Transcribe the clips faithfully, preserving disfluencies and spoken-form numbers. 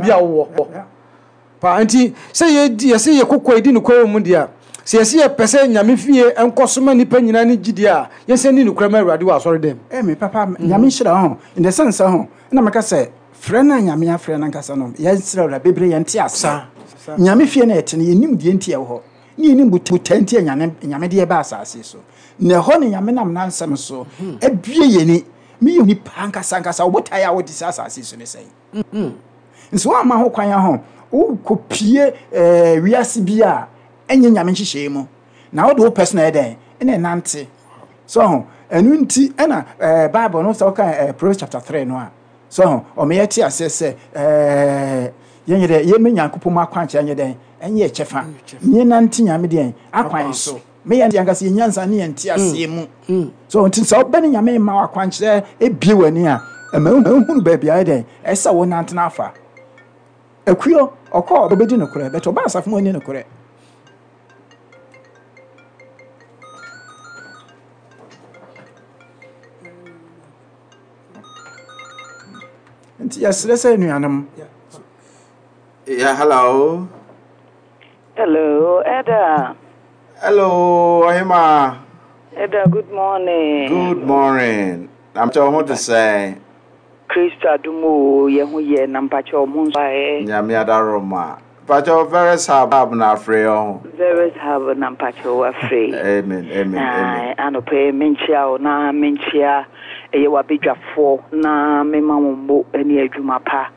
Bi a wowɔ paa nti sɛ yɛdi yɛsɛ yɛ koko yɛdi nokorɛ wɔ mu deɛ a, sɛ yɛsɛ yɛpɛ sɛ Nyame fie nkɔ so ma nnipa nyinaa ne gyidie a, yɛsɛ ni nokorɛ ma Awurade wɔ asɔre dɛm. Eh, me papa, Nyame nhyira ho. In the sense ho, na meka sɛ frɛ no a Nyame afrɛ no ankasa no, yɛnsrɛ Awurade bebree yɛnte ase. Saa. Nyame fie no yɛte no, yɛnim deɛ nti ɛwɔ hɔ. Ne yɛnim botae nti a Nyame Nyame de yɛba asase so. Na ɛhɔ ne Nyame nam n'ansɛm so abue yɛni. Meyɛ nipa ankasa ankasa, wo botae a wode sɛ asase so ne sɛn? Nso woamma ho kwan ho, wokɔpie eh, wiase bi a ɛnyɛ Nyame nhyehyɛe mu. Na wode wo pɛ so na ɛyɛ dɛn? Ɛna ɛnante. So ho, ɛno nti ɛna eh, Bible no sɛ woka eh, Proverbs chapter three no a, so ho, ɔma yɛte aseɛ sɛ eh, yɛnyɛ dɛ yɛmɛ Nyankopɔn mu akwankyerɛ nyɛ dɛn? Ɛnyɛ kyɛfa. Yɛnante Nyame deɛn? Akwan so. Meyɛ ankasa yɛ nyansa ne yɛnte aseɛ mu. So nti sɛ wobɛne Nyame ma wakwankyerɛ ebie w'ani a, ɛma wohunu baabi a ɛyɛ dɛn? Ɛsɛ sɛ wonante no afa. Akuo, ɔkɔ ɔbɛdi nokorɛ, bɛtɛ ɔba asafo mu ani nokorɛ. Nti yɛsrɛ sɛ anuanom. Yeah, hello. Hello, Eda. Hello, Ohima. Eda, good morning. Good morning. I'm telling what to say. Kristo adom o, yɛ ho yɛ na mpakyɛ ɔmo nso ayɛ. Nyame adaroma. Pacho Veres Hub na afrɛ ho. Veres Hub na mpakyɛ wafrɛ. Amen, amen, amen. Anɔpɛ yi menkyia wo na menkyia ɛyɛ wabadwafoɔ na mema wo mmo ne adwuma pa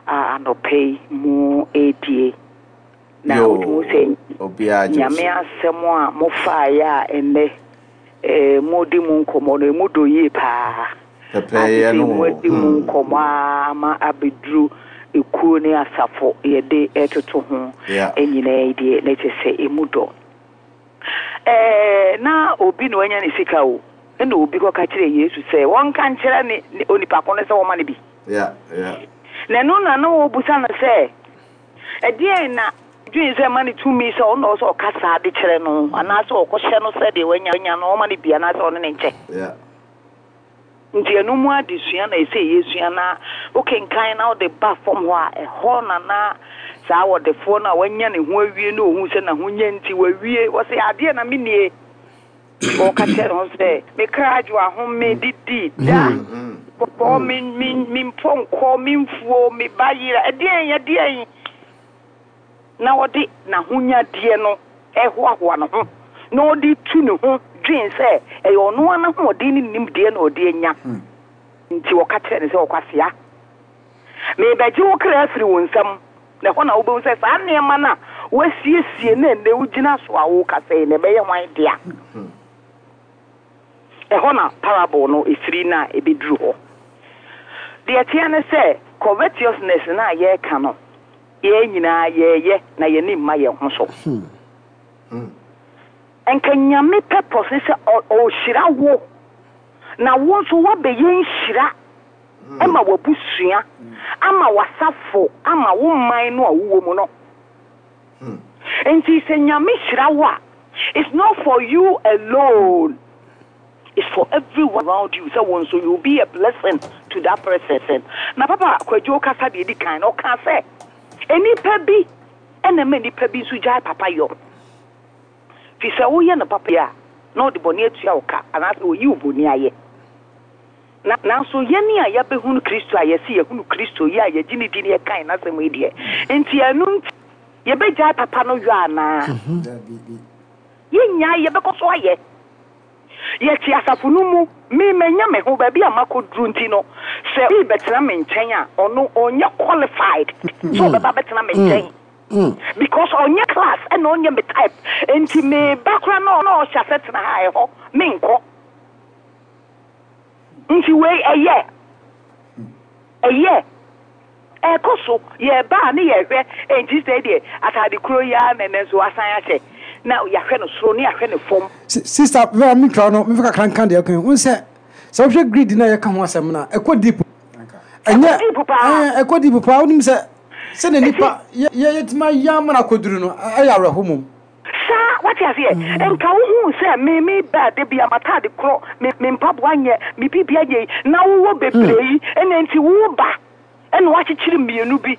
a anɔpɛ yi mo ɛredie. Na Yo, wotumi sɛ obiara gye Nyame so. asɛm a mofaeɛ a ɛnnɛ eh, modi mu nkɔmmɔ no, ɛmu dɔ yie paa. Pɛpɛɛyɛ no. Ade sɛ moadi mu nkɔmmɔ a ama abɛduru ekuo ne asafo yɛde ɛtoto ho Yeah. nyinaa yi deɛ, na kyerɛ sɛ ɛmu dɔ. Ɛɛ, na obi na wanya ne sika o, ɛna obi kɔka kyerɛ Yesu sɛ wɔnka nkyerɛ ne ne onipa ko no sɛ wɔma no bi. Yeah, yeah. Na ɛno na na wɔbusa no sɛ ɛdeɛn na dwen sɛ ma ne tumi sɛ ɔno na ɔwɔ sɛ ɔka saa de kyerɛ no, anaasɛ ɔkɔhyɛ no sɛ deɛ wanya anya no ɔma no bi, anaasɛ ɔne ne nkyɛ. Yeah. Nti ɛno mu adesua na ɛsɛ yɛsua, na wokenkan na wode ba fam hɔ a, ɛhɔ na na saa wɔdefoɔ no a wanya ne ho awie na ohu sɛ n'ahonya nti wawie, wɔsɛ adeɛ na mennie. Wɔka kyerɛ ne ho sɛ me kra adwo ahome didi da bɔ me me me mpɔnkɔ me mfuo me ba yera ɛdeɛn ɛdeɛn, na wɔde n'ahonyadeɛ no ɛhoahoa ne ho na ɔde tu ne ho dwen sɛ ɛyɛ ɔno ara n'ahoɔden ne nimdeɛ na ɔde anya. Nti wɔka kyerɛ ne sɛ ɔkwasea, mebɛgye wo kra afiri wo nsam, na ɛhɔ na wobɛhu sɛ saa nneɛma no a woasiesie na ɛnnɛ wogyina so a wokasa yi na ɛbɛyɛ hwan dea. Ɛhɔ na parable no ɛfiri na ɛbɛduru hɔ. Deɛ ɛteɛ ne sɛ covetousness na yɛreka no, yɛn nyinaa yɛyɛ na yɛni mma yɛn ho so. Nka Nyame purpose ne sɛ ɔhyira wo, na wo nso woabɛyɛ nhyira ama w'abusua, ama w'asafo, ama wo man no a wowɔ mu no. Nti sɛ Nyame hyira wo a, it's not for you alone, it's for everyone around you. Sɛ wo nso you will be a blessing to that person. Na Papa Kwadwo kasa deɛ edi kan na ɔka sɛ enipa bi ɛna ɛma nipa bi nso gyae papa yɔ. Fi sɛ woyɛ no papa yi a, na ɔde bɔne atua wo ka, anaasɛ oyi wo bɔne ayɛ. Na nanso yɛne a yɛbɛhunu Kristo a yɛsi yɛhunu Kristo yi a yɛgye ne di ne yɛkan n'asɛm yi deɛ, nti ɛno nti yɛbɛgyae papa no yɔ anaa? Yɛnnyae, yɛbɛkɔ so ayɛ. Yɛte asafo no mu, me manya me ho baabi a makɔduru nti no, sɛ obi bɛtena me nkyɛn a, ɔno ɔnyɛ qualified sɛ ɔbɛba bɛtena me nkyɛn. Because ɔnyɛ class ɛna ɔnyɛ me type. Nti me ba koraa na ɔna ɔhyɛ ase tena ha ɛhɔ, menkɔ. Nti wei ɛyɛ. Ɛyɛ. Ɛkɔ so, yɛba a ne yɛhwɛ, enti sɛ deɛ atade kuro yi ara na ɛnɛ nso asan ahyɛ, na yɛahwɛ no soro ne yɛahwɛ no fam. Sister Vera, mi twa no, mefa kakra nka deɛ ɛka ho sɛ, sɛ wohwɛ greed na yɛka ho asɛm no a, ɛkɔ deep. Ɛnyɛ Ɛkɔ deep paa. Ɛɛ, ɛkɔ deep paa. Wonim sɛ, sɛdeɛ nipa yɛ yɛtumi ayɛ ama no akɔduru no, ɛyɛ awerɛho mom. Saa, wate aseɛ? Nka wohuu sɛ me me ba da bi a m'atade korɔ, me me mpaboa nyɛ, me biribi anyɛ yi, na wowɔ bebree yi, ɛna nti wo ba, ɛna wakyekyere mmienu bi,